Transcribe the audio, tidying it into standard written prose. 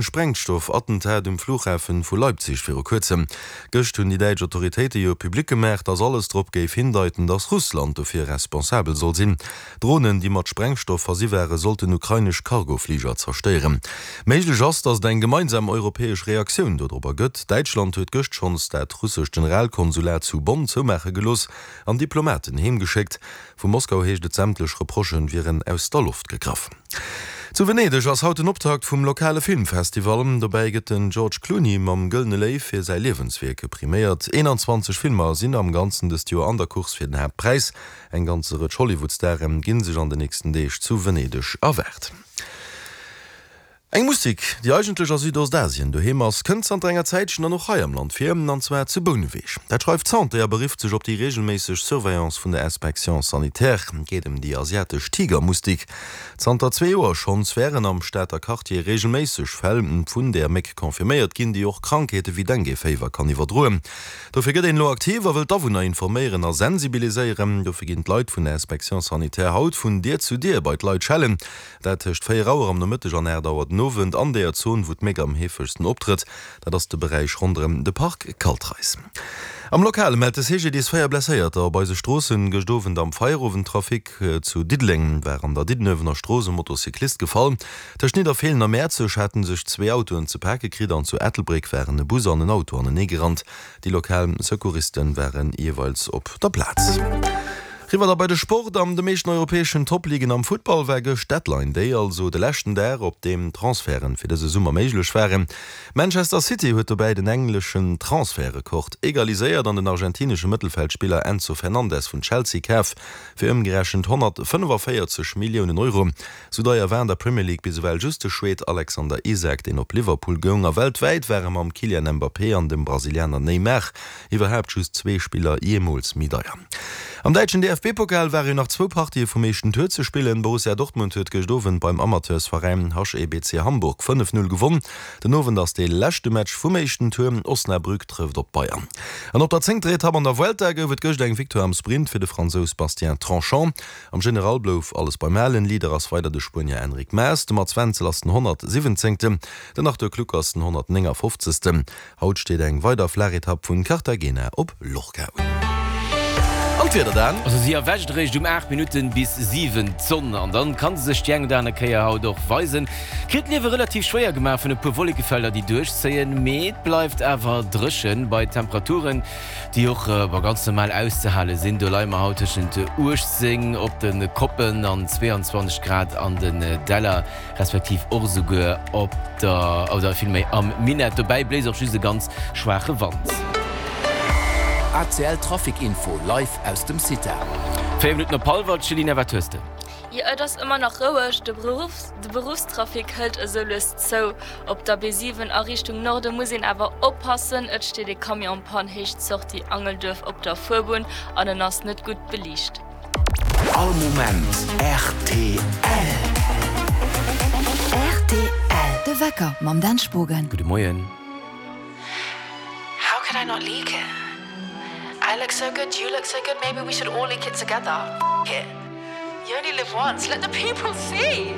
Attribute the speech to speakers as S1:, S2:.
S1: Sprengstoff-Attentat um Flughafen vu Leipzig viru kuerzem. Gëscht hunn déi däitsch Autoritéite jo public gemaach, datt alles drop géif hindeiten, datt Russland dofir responsabel soll sinn. Dronen, déi mat Sprengstoff versi ware sollten ukrainesch Cargofliger zerstéieren. Méiglech ass, datt et eng gemeinsam europäesch Reaktioun dodropper gëtt. Däitschland huet gëscht schonns dat russescht Generalkonsulat zu Bonn zoumaache gelooss an Diplomaten heemgeschéckt. Vu Moskau heescht et, sämtlech Reprochë wieren aus der Loft gegraff. Zu Venedeg ass haut den Optakt vum lokale Filmfestival. Dobäi gëtt den George Clooney mam Gëllene Léiw fir säi Liewenswierk priméiert. 21 Filmer sinn am Ganzen dëst Joer an der Course fir den Haaptpräis. Eng ganze Rëtsch Hollywood-Stare ginn sech an den nächsten Deeg zu Venedeg erwaart. Eng Musik, déi eigentlech a Südostasien doheem ass, kënnt zanter enger Zäitchen dann och hei am Land vir, an zwar zu Bouneweg. Dat schreift d'Santé a berifft sech op déi reegelméisseg Surveillance vun der Inspection sanitaire. Et geet ëm déi asiatesch Tigermustik. Zanter zwee Joer schonns wären am Stater Quartier reegelméisseg Fäll vun där Méck confirméiert ginn, déi och Krankheete wéi Dengue-Féiwer kann iwwerdroen. Dofir gëtt een elo aktiv a wëll d'Awunner informéieren a sensibiliséieren. Dofir ginn d'Leit vun der Inspection sanitaire haut vun Dier zu Dier bei d'Leit schellen. Dat tëscht 4 Auer am Nomëtteg an 8 Auer den Owend an deeër Zon, wou d'Méck am heefegsten optrëtt. Dat ass de Beräich ronderëm de Park Kaltreis. Am Lokale mellt de CGDIS 4 Blesséierter op eise Stroossen. Gëscht Owend am Feierowendtrafic zu Diddeleng war an der Diddenuewener Strooss e Motocyclist gefall. Tëscht Nidderfeelen a Mäerzeg haten sech zwee Autoen ze pake kritt an zu Ettelbréck waren e Bus an en Auto aneneegerannt. Déi lokal Secouristen waren jeeweils op der Plaz. Riwwer da bei de Sport. An de meeschten europäeschen Top-Ligen am Futtball war gëscht Deadline Day, also de leschten Dag, op deem Transferten fir dëse Summer méiglech waren. Manchester City huet dobäi den engleschen Transfertrekord egaliséiert an den argentinesche Mëttelfeldspiller Enzo Fernandez vun Chelsea kaf fir ëmgerechent 145 Milliounen Euro. Sou deier war an der Premier League bis ewell just de Schwed Alexander Isak, deen op Liverpool goung. A weltwäit ware mam Kylian Mbappé an dem Brasilianer Neymar iwwerhaapt just zwee Spiller jeemools méi deier. Am däitschen DFB-Pokal ware jo nach zwou Partië vum éischten Tour ze spillen. Borussia Dortmund huet gëscht Owend beim Amateursveräin HEBC Hamburg 5, 0 gewonn. Den Owend ass dee leschte Match vum éischten Tour, Osnabrück trëfft op d'Bayern. An op der zéngter Etapp an der Vuelta gouf et gëscht eng Victoire am Sprint fir de Fransous Bastien Tronchon. Am General blouf alles beim Alen. Leader ass weider de Spuenier Enric Mas, de Mats Wenzel ass den 117. Den Arthur Kluck ass den 159. Haut steet eng weider Flaachetapp vun Cartagena op Lorca un. An d'Wieder dann?
S2: Also si erwächt eréischt um 8 Minutten bis 7 d'Sonn an dann kann se sech déi eng oder aner Kéier haut och weisen. Kritt d'Liewe relativ schwéier gemaach vun e puer Wollekefelder déi duerchzéien, mee et bleift awer dréchen bei Temperaturen déi och ganz normal auszehale sinn. Do leie mer haut tëschent 18 op de Koppen an 22 Grad an den Däller, respektiv och esouguer op der, oder villméi am Minett. Dobäi bléist och just e ganz schwaache Wand.
S3: ACL Trafic Info live aus dem CITA.
S2: 4 Minutten op hallwer. Céline, wat hues de?
S4: Jo, et ass ëmmer nach roueg. De Beruffstrafic hëlt esou lues zou. Op der B7 a Richtung Norde muss een awer oppassen, et steet ee Camion en panne Héicht Sortie Angelduerf op der Fuerbunn an en ass net gutt beliicht.
S3: All Moment rtl.
S5: Rtl, De Wecker mam Dan Spogen.
S2: Gudde Moien.
S6: How could I not leak it? I look so good, you look so good, maybe we should all leak it together. F it. You only live once, let the people see!